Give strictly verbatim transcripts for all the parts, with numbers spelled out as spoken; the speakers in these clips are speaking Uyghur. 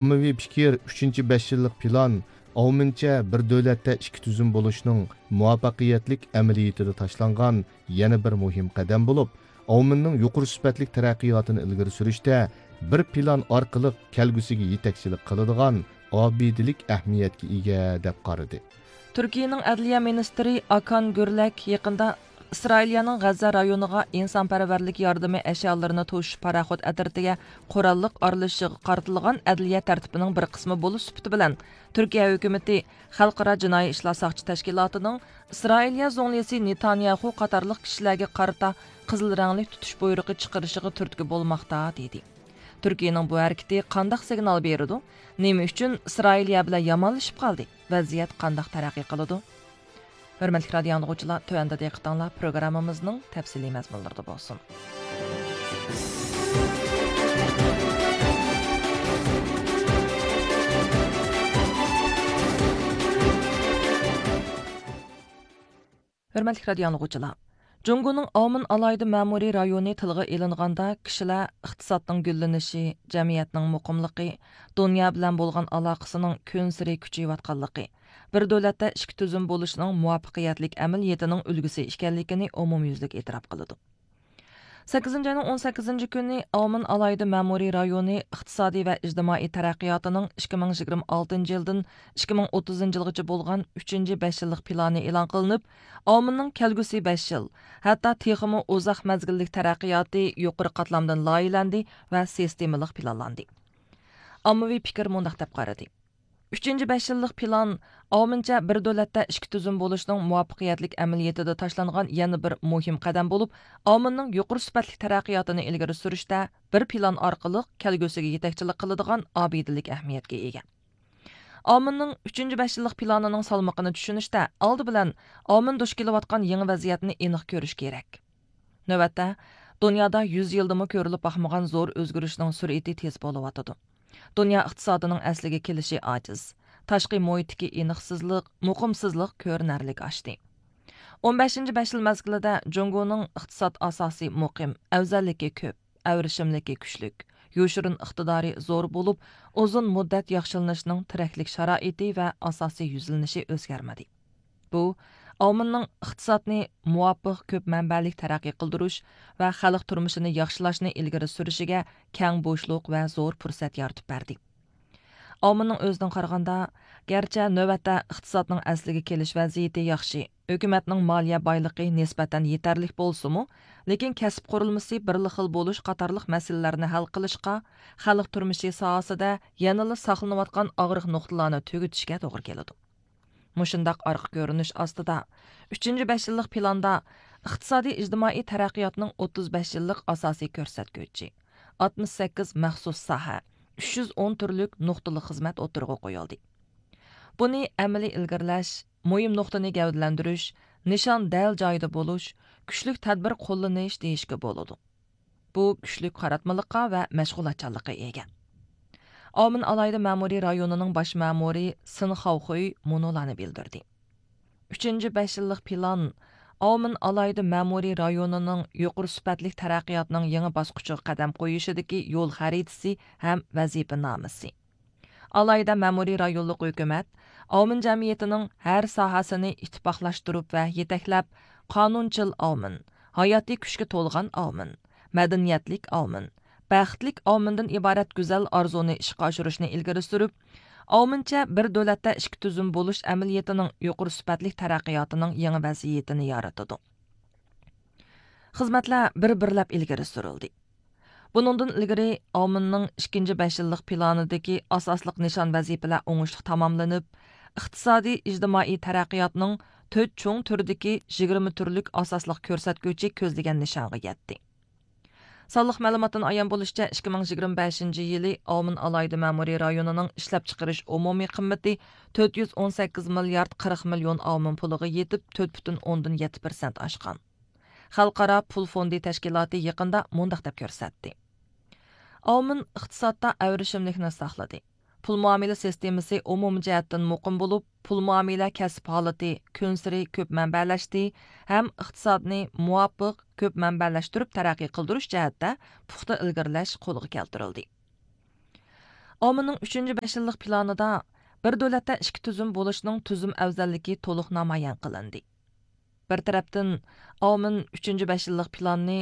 ئاممىۋى پىكىر، ئۈچىنچى بەش يىللىق پىلان ئاۋمېنچە بىر دۆلەتتە ئىككى تۈزۈم بولۇشنىڭ مۇۋەپپەقىيەتلىك ئەمەلىيىتىدە تاشلانغان يەنە بىر مۇھىم قەدەم بولۇپ، ئاۋمېننىڭ يۇقىرى سۈپەتلىك تەرەققىياتىنى ئىلگىرى سۈرۈشتە بىر پىلان ئارقىلىق كەلگۈسىگە يېتەكچىلىك قىلىدىغان ئابىدىلىك ئەھمىيەتكە ئىگە، دەپ قارىدى. تۈركىيەنىڭ ئەدلىيە مىنىستىرى ئاكان گۈرلەك يېقىندا ئىسرائىلىيەنىڭ غەززە رايونىغا ئىنسانپەرۋەرلىك ياردىمى ئەشيالىرىنى توشۇش پاراخوت ئەترىتىگە قوراللىق ئارىلىشىشىغا قارىتىلغان ئەدلىيە تەرتىپىنىڭ بىر قىسمى بولۇش سۈپىتى بىلەن، تۈركىيە ھۆكۈمىتى خەلقئارا جىنايى ئىشلار ساقچى تەشكىلاتىنىڭ ئىسرائىلىيە زۇڭلىسى نېتانياھۇ قاتارلىق كىشىلەرگە قارىتا قىزىل رەڭلىك تۇتۇش بۇيرۇقى چىقىرىشىغا تۈرتكە بولماقتا، دېدى. تۈركىيەنىڭ بۇ ھەرىكىتى قانداق سىگنال بېرىدۇ؟ نېمە ئۈچۈن ئىسرائىلىيە بىلەن يامانلىشىپ قالدى؟ ۋەزىيەت قانداق تەرەققىي قىلىدۇ؟ ھۆرمەتلىك رادىيو ئاڭلىغۇچىلار، تۆۋەندە دىققىتىڭلار پروگراممىمىزنىڭ تەپسىلىي مەزمۇنلىرىدا بولسۇن. ھۆرمەتلىك رادىيو ئاڭلىغۇچىلار، جۇڭگونىڭ ئاۋمېن ئالاھىدە مەمۇرىي رايونى تىلغا ئېلىنغاندا، كىشىلەر ئىقتىسادنىڭ گۈللىنىشى، جەمئىيەتنىڭ مۇقىملىقى، دۇنيا بىلەن بولغان ئالاقىسىنىڭ كۈنسېرى كۈچىيىۋاتقانلىقى، بىر دۆلەتتە ئىككى تۈزۈم بولۇشنىڭ مۇۋەپپەقىيەتلىك ئەمەلىيىتىنىڭ ئۈلگىسى ئىكەنلىكىنى ئومۇميۈزلۈك ئېتىراپ قىلىدۇ. سەككىزىنچى ئاينىڭ ئون سەككىزىنچى كۈنى ئاۋمېن ئالاھىدە مەمۇرىي رايونى ئىقتىسادىي ۋە ئىجتىمائىي تەرەققىياتىنىڭ ئىككى مىڭ يىگىرمە ئالتىنچى يىلدىن ئىككى مىڭ ئوتتۇزىنچى يىلغىچە بولغان ئۈچىنچى بەش يىللىق پىلانى ئېلان قىلىنىپ، ئاۋمېننىڭ كەلگۈسى بەش يىل، ھەتتا تېخىمۇ ئۇزاق مەزگىللىك تەرەققىياتى يۇقىرى قاتلامدىن لايىھەلەندى ۋە سىستېمىلىق پىلانلاندى. ئاممىۋى پىكىر مۇنداق دەپ قارىدى. ئۈچىنچى بەش يىللىق پىلان ئاۋمېنچە بىر دۆلەتتە ئىككى تۈزۈم بولۇشنىڭ مۇۋەپپەقىيەتلىك ئەمەلىيىتىدە تاشلانغان يەنە بىر مۇھىم قەدەم بولۇپ، ئاۋمېننىڭ يۇقىرى سۈپەتلىك تەرەققىياتىنى ئىلگىرى سۈرۈشتە بىر پىلان ئارقىلىق كەلگۈسىگە يېتەكچىلىك قىلىدىغان ئابىدىلىك ئەھمىيەتكە ئىگە. ئاۋمېننىڭ ئۈچىنچى بەش يىللىق پىلانىنىڭ سالمىقىنى چۈشىنىشتە، ئالدى بىلەن ئاۋمېن دۇچ كېلىۋاتقان يېڭى ۋەزىيەتنى ئېنىق كۆرۈش كېرەك. نۆۋەتتە، دۇنيادا يۈز يىلدىمۇ كۆرۈلۈپ باقمىغان زور ئۆزگىرىشنىڭ سۈرئىتى تېز بولۇۋاتىدۇ. دۇنيا ئىقتىسادىنىڭ ئەسلىگە كېلىشى ئاجىز. تاشقى مۇھىتتىكى ئېنىقسىزلىق، مۇقىمسىزلىق كۆرۈنەرلىك ئاشتى. ئون بەشىنچى بەش يىل مەزگىلىدە جۇڭگونىڭ ئىقتىساد ئاساسى مۇقىم، ئەۋزەللىكى كۆپ، ئەۋرىشىملىكى كۈچلۈك، يوشۇرۇن ئىقتىدارى زور بولۇپ، ئۇزۇن مۇددەت ياخشىلىنىشنىڭ تىرەكلىك شارائىتى ۋە ئاساسىي يۈزلىنىشى ئۆزگەرمىدى. بۇ، ئاۋمېننىڭ ئىقتىسادنى مۇۋاپىق كۆپ مەنبەلىك تەرەققىي قىلدۇرۇش ۋە خەلق تۇرمۇشىنى ياخشىلاشنى ئىلگىرى سۈرۈشىگە كەڭ بوشلۇق ۋە زور پۇرسەت يارىتىپ بەردى. ئاۋمېننىڭ ئۆزىدىن قارىغاندا، گەرچە نۆۋەتتە ئىقتىسادنىڭ ئەسلىگە كېلىش ۋەزىيىتى ياخشى، ھۆكۈمەتنىڭ مالىيە بايلىقى نىسبەتەن يېتەرلىك بولسىمۇ، لېكىن كەسىپ قۇرۇلمىسى بىرلا خىل بولۇش قاتارلىق مەسىلىلەرنى ھەل قىلىشقا، خەلق تۇرمۇشى ساھەسىدە يەنىلا ساقلىنىۋاتقان ئاغرىق نۇقتىلارنى تۈگىتىشكە توغرا كېلىدۇ. مۇشۇنداق ئارقا كۆرۈنۈش ئاستىدا، ئۈچىنچى بەش يىللىق پىلاندا ئىقتىسادىي ئىجتىمائىي تەرەققىياتنىڭ ئوتتۇز بەش يىللىق ئاساسىي كۆرسەتكۈچى، ئاتمىش سەككىز مەخسۇس ساھە، ئۈچ يۈز ئون تۈرلۈك نۇقتىلىق خىزمەت ئوتتۇرىغا قويۇلدى. بۇنى ئەمەلىي ئىلگىرىلەش، مۇھىم نۇقتىنى گەۋدىلەندۈرۈش، نىشان دەل جايىدا بولۇش، كۈچلۈك تەدبىر قوللىنىش دېيىشكە بولىدۇ. بۇ كۈچلۈك قاراتمىلىققا ۋە مەشغۇلاتچانلىققا ئىگە. ئاۋمېن ئالاھىدە مەمۇرىي رايونىنىڭ باش مەمۇرى سىن خاۋخۇي مۇنۇلارنى بىلدۈردى. ئۈچىنچى بەش يىللىق پىلان ئاۋمېن ئالاھىدە مەمۇرىي رايونىنىڭ يۇقىرى سۈپەتلىك تەرەققىياتنىڭ يېڭى باسقۇچىغا قەدەم قويۇشىدىكى يول خەرىتىسى ھەم ۋەزىپىنامىسى. ئالاھىدە مەمۇرىي رايونلۇق ھۆكۈمەت ئاۋمېن جەمئىيىتىنىڭ ھەر ساھەسىنى ئىتتىپاقلاشتۇرۇپ ۋە يېتەكلەپ، قانۇنچىل ئاۋمېن، ھاياتىي كۈچكە تولغان ئاۋمېن، مەدەنىيەتلىك ئاۋمېن، بەختلىك ئاۋمېندىن ئىبارەت گۈزەل ئارزۇنى ئىشقا ئاشۇرۇشنى ئىلگىرى سۈرۈپ، ئاۋمېنچە بىر دۆلەتتە ئىككى تۈزۈم بولۇش ئەمەلىيىتىنىڭ يۇقىرى سۈپەتلىك تەرەققىياتىنىڭ يېڭى ۋەزىيىتىنى يارىتىدۇ. خىزمەتلەر بىر بىرلەپ ئىلگىرى سۈرۈلدى. بۇنىڭدىن ئىلگىرى، ئاۋمېننىڭ ئىككىنچى بەش يىللىق پىلانىدىكى ئاساسلىق نىشان ۋەزىپىلەر ئوڭۇشلۇق تاماملىنىپ، ئىقتىسادىي ئىجتىمائىي تەرەققىياتنىڭ تۆت چوڭ تۈرىدىكى يىگىرمە تۈرلۈك ئاساسلىق كۆرسەتكۈچى كۆزلىگەن نىشانغا يەتتى. سانلىق مەلۇماتتىن ئايان بولۇشىچە، ئىككى مىڭ يىگىرمە بەشىنچى يىلى ئاۋمېن ئالاھىدە مەمۇرىي رايونىنىڭ ئىشلەپچىقىرىش ئومۇمىي قىممىتى تۆت يۈز ئون سەككىز مىليارد قىرىق مىليون ئاۋمېن پۇلىغا يېتىپ، تۆت پۈتۈن ئوندىن يەتتە پىرسەنت ئاشقان. خەلقئارا پۇل فوندى تەشكىلاتى يېقىندا مۇنداق دەپ كۆرسەتتى: ئاۋمېن ئىقتىسادتا ئەۋرىشىملىكنى ساقلىدى. پۇل مۇئامىلە سىستېمىسى ئومۇمىي جەھەتتىن مۇقىم بولۇپ، پۇل مۇئامىلە كەسىپ ھالىتى كۈنسېرى كۆپ مەنبەلەشتى ھەم ئىقتىسادنى مۇۋاپىق كۆپ مەنبەلەشتۈرۈپ تەرەققىي قىلدۇرۇش جەھەتتە پۇختا ئىلگىرىلەش قولغا كەلتۈرۈلدى. ئاۋمېننىڭ ئۈچىنچى بەش يىللىق پىلانىدا بىر دۆلەتتە ئىككى تۈزۈم بولۇشنىڭ تۈزۈم ئەۋزەللىكى تولۇق نامايان قىلىندى. بىر تەرەپتىن، ئاۋمېن ئۈچىنچى بەش يىللىق پىلاننى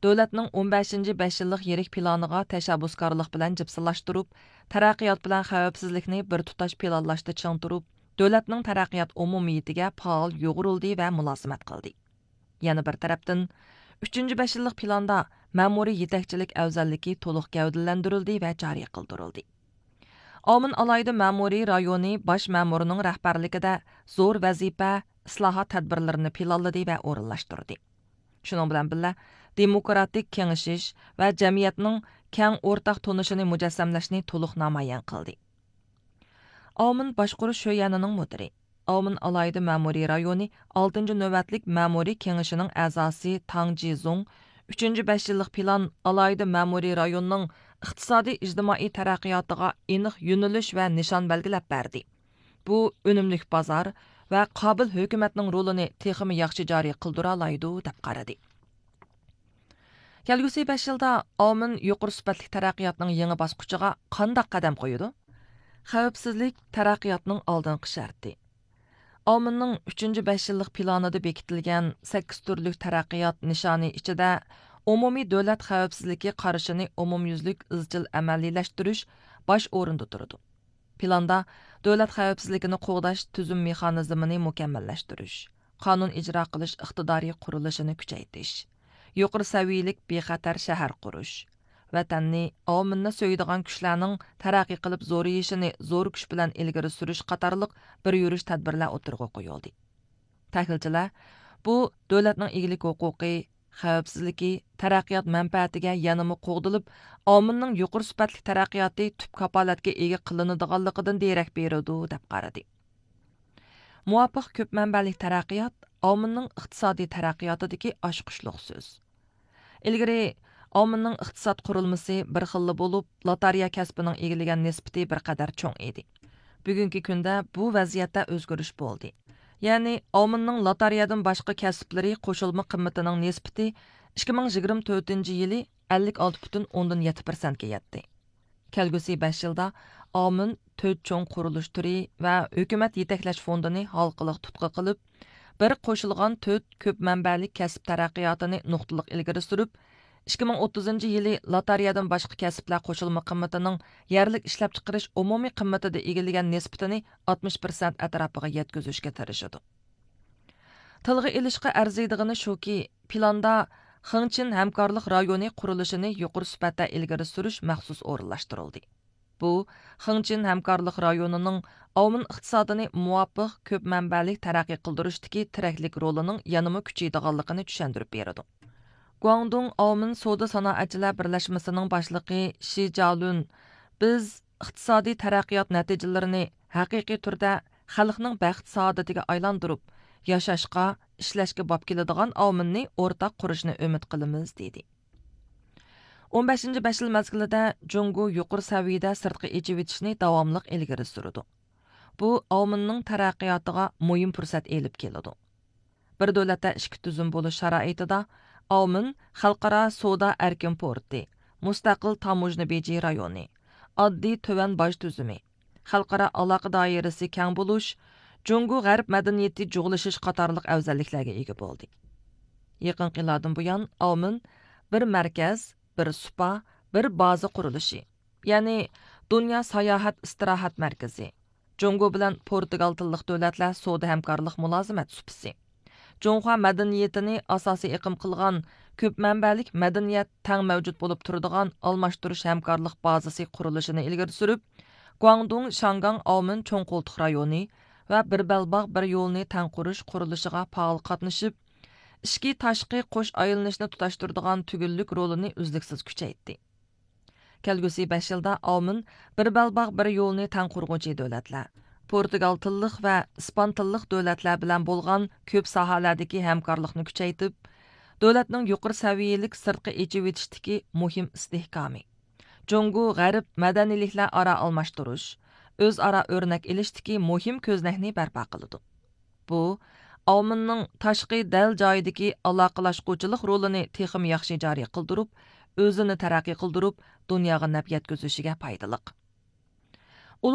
دۆلەتنىڭ ئون بەشىنچى بەش يىللىق يىرىك پىلانىغا تەشەببۇسكارلىق بىلەن جىپسىلاشتۇرۇپ، تەرەققىيات بىلەن خەۋپسىزلىكنى بىر تۇتاش پىلانلاشتا چىڭ تۇرۇپ، دۆلەتنىڭ تەرەققىيات ئومۇمىيىتىگە پائال يۇغۇرۇلدى ۋە مۇلازىمەت قىلدى. يەنە بىر تەرەپتىن، ئۈچىنچى بەش يىللىق پىلاندا مەمۇرىي يېتەكچىلىك ئەۋزەللىكى تولۇق گەۋدىلەندۈرۈلدى ۋە جارى قىلدۇرۇلدى. ئاۋمېن ئالاھىدە مەمۇرىي رايونى باش مەمۇرىنىڭ رەھبەرلىكىدە زور ۋەزىپە، ئىسلاھات تەدبىرلىرىنى پىلانلىدى ۋە ئورۇنلاشتۇردى. شۇنىڭ بىلەن بىللە، دېموكراتىك كېڭىشىش ۋە جەمئىيەتنىڭ كەڭ ئورتاق تونۇشىنى مۇجەسسەملەشنى تولۇق نامايان قىلدى. ئاۋمېن باشقۇرۇش شۆيەنىنىڭ مۇدىرى، ئاۋمېن ئالاھىدە مەمۇرىي رايونى ئالتىنچى نۆۋەتلىك مەمۇرىي كېڭىشىنىڭ ئەزاسى تاڭ جىزۇڭ ئۈچىنچى بەش يىللىق پىلان ئالاھىدە مەمۇرىي رايوننىڭ ئىقتىسادىي ئىجتىمائىي تەرەققىياتىغا ئېنىق يۆنىلىش ۋە نىشان بەلگىلەپ بەردى. بۇ ئۈنۈملۈك بازار ۋە قابىل ھۆكۈمەتنىڭ رولىنى تېخىمۇ ياخشى جارى قىلدۇرالايدۇ، دەپ قارىدى. كەلگۈسى بەش يىلدا ئاۋمېن يۇقىرى سۈپەتلىك تەرەققىياتنىڭ يېڭى باسقۇچىغا قانداق قەدەم قويىدۇ؟ خەۋپسىزلىك تەرەققىياتنىڭ ئالدىنقى شەرتى. ئاۋمېننىڭ ئۈچىنچى بەش يىللىق پىلانىدا بېكىتىلگەن سەككىز تۈرلۈك تەرەققىيات نىشانى ئىچىدە ئومۇمىي دۆلەت خەۋپسىزلىكى قارىشىنى ئومۇميۈزلۈك ئىزچىل ئەمەلىيلەشتۈرۈش باش ئورۇندا تۇرىدۇ. پىلاندا دۆلەت خەۋپسىزلىكىنى قوغداش تۈزۈم مېخانىزمىنى مۇكەممەللەشتۈرۈش، قانۇن ئىجرا قىلىش ئىقتىدارى قۇرۇلۇشىنى كۈچەيتىش، يۇقىرى سەۋىيەلىك بىخەتەر شەھەر قۇرۇش، ۋەتەننى، ئاۋمېننى سۆيىدىغان كۈچلەرنىڭ تەرەققىي قىلىپ زورىيىشىنى زور كۈچ بىلەن ئىلگىرى سۈرۈش قاتارلىق بىر يۈرۈش تەدبىرلەر ئوتتۇرىغا قويۇلدى. تەھلىلچىلەر بۇ دۆلەتنىڭ ئىگىلىك ھوقۇقى، خەۋپسىزلىكى، تەرەققىيات مەنپەئەتىگە يەنىمۇ قوغدىلىپ، ئاۋمېننىڭ يۇقىرى سۈپەتلىك تەرەققىياتى تۈپ كاپالەتكە ئىگە قىلىنىدىغانلىقىدىن دېرەك بېرىدۇ، دەپ قارىدى. مۇۋاپىق كۆپ مەنبەلىك تەرەققىيات ئاۋمېننىڭ ئىقتىسادىي تەرەققىياتىدىكى ئاچقۇچلۇق سۆز. ئىلگىرى ئاۋمېننىڭ ئىقتىساد قۇرۇلمىسى بىر خىللا بولۇپ، لاتارىيە كەسپىنىڭ ئىگىلىگەن نىسبىتى بىر قەدەر چوڭ ئىدى. بۈگۈنكى كۈندە بۇ ۋەزىيەتتە ئۆزگىرىش بولدى. يەنى ئاۋمېننىڭ لاتارىيەدىن باشقا كەسىپلىرى قوشۇلما قىممىتىنىڭ نىسبىتى ئىككى مىڭ يىگىرمە تۆتىنچى يىلى ئەللىك ئالتە پۈتۈن ئوندىن يەتتە پىرسەنتكە يەتتى. كەلگۈسى بەش يىلدا ئاۋمېن تۆت چوڭ قۇرۇلۇش تۈرى ۋە ھۆكۈمەت يېتەكلەش فوندىنى ھالقىلىق تۇتقا قىلىپ، بىر قوشۇلغان تۆت كۆپ مەنبەلىك كەسىپ تەرەققىياتىنى نۇقتىلىق ئىلگىرى سۈرۈپ، ئىككى مىڭ ئوتتۇزىنچى يىلى لاتارىيەدىن باشقا كەسىپلەر قوشۇلما قىممىتىنىڭ يەرلىك ئىشلەپچىقىرىش ئومۇمىي قىممىتىدە ئىگىلىگەن نىسبىتىنى ئاتمىش پىرسەنت ئەتراپىغا يەتكۈزۈشكە تىرىشىدۇ. تىلغا ئېلىشقا ئەرزىيدىغىنى شۇكى، پىلاندا خېڭچىن ھەمكارلىق رايونى قۇرۇلۇشىنى يۇقىرى سۈپەتتە ئىلگىرى سۈرۈش مەخسۇس ئورۇنلاشتۇرۇلدى. بۇ، خېڭچىن ھەمكارلىق رايونىنىڭ ئاۋمېن ئىقتىسادىنى مۇۋاپىق كۆپ مەنبەلىك تەرەققىي قىلدۇرۇشتىكى تىرەكلىك رولىنىڭ يەنىمۇ كۈچىيىدىغانلىقىنى چۈشەندۈرۈپ بېرىدۇ. گۇاڭدۇڭ ئاۋمېن سودا سانائەتچىلەر بىرلەشمىسىنىڭ باشلىقى شى جالۈن، بىز ئىقتىسادىي تەرەققىيات نەتىجىلىرىنى ھەقىقىي تۈردە خەلقنىڭ بەخت سائادىتىگە ئايلاندۇرۇپ، ياشاشقا، ئىشلەشكە باب كېلىدىغان ئاۋمېننى ئورتاق قۇرۇشنى ئۈمىد قىلىمىز، دېدى. ئون بەشىنچى بەش يىل مەزگىلىدە جۇڭگو يۇقىرى سەۋىيىدە سىرتقا ئېچىۋېتىشنى داۋاملىق ئىلگىرى سۈرىدۇ. بۇ ئاۋمېننىڭ تەرەققىياتىغا مۇھىم پۇرسەت ئېلىپ كېلىدۇ. بىر دۆلەتتە ئىككى تۈزۈم بولۇش شارائىتىدا ئاۋمېن خەلقئارا سودا ئەركىن پورتى، مۇستەقىل تاموژنا بېجى رايونى، ئاددىي تۆۋەن باج تۈزۈمى، خەلقئارا ئالاقە دائىرىسى كەڭ بولۇش، جۇڭگو غەرب مەدەنىيىتى جۇغلىشىش قاتارلىق ئەۋزەللىكلەرگە ئىگە بولدى. يېقىنقى يىللاردىن بۇيان ئاۋمېن بىر مەركەز، بىر سۇپا، بىر بازا قۇرۇلۇشى، يەنى دۇنيا ساياھەت ئىستىراھەت مەركىزى، جۇڭگو بىلەن پورتۇگال تىللىق دۆلەتلەر سودا ھەمكارلىق مۇلازىمەت سۇپىسى، جۇڭخۇا مەدەنىيىتىنى ئاساسىي ئېقىم قىلغان كۆپ مەنبەلىك مەدەنىيەت تەڭ مەۋجۇت بولۇپ تۇرىدىغان ئالماشتۇرۇش ھەمكارلىق بازىسى قۇرۇلۇشىنى ئىلگىرى سۈرۈپ، گۇاڭدۇڭ شياڭگاڭ ئاۋمېن چوڭ قولتۇق رايونى ۋە بىر بەلباغ بىر يولنى تەڭ قۇرۇش قۇرۇلۇشىغا پائال قاتنىشىپ، ئىچكى تاشقى قوش ئايلىنىشنى تۇتاشتۇرىدىغان تۈگۈنلۈك رولىنى ئۈزلۈكسىز كۈچەيتتى. كەلگۈسى بەش يىلدا ئاۋمېن بىر بەلباغ بىر يولنى تەڭ قۇرغۇچى دۆلەتلەر، پورتۇگال تىللىق ۋە ئىسپان تىللىق دۆلەتلەر بىلەن بولغان كۆپ ساھەلەردىكى ھەمكارلىقنى كۈچەيتىپ، دۆلەتنىڭ يۇقىرى سەۋىيەلىك سىرتقا ئېچىۋېتىشتىكى مۇھىم ئىستىھكامى، جۇڭگو غەرب مەدەنىيلىكلەر ئارا ئالماشتۇرۇش، ئۆزئارا ئۆرنەك ئېلىشتىكى مۇھىم كۆزنەكنى بەرپا قىلىدۇ. بۇ، ئاۋمېننىڭ تاشقى دەل جايىدىكى ئالاقىلاشقۇچىلىق رولىنى تېخىمۇ ياخشى جارى قىلدۇرۇپ، ئۆزىنى تەرەققىي قىلدۇرۇپ، دۇنياغا نەپ يەتكۈزۈشىگە پايدىلىق.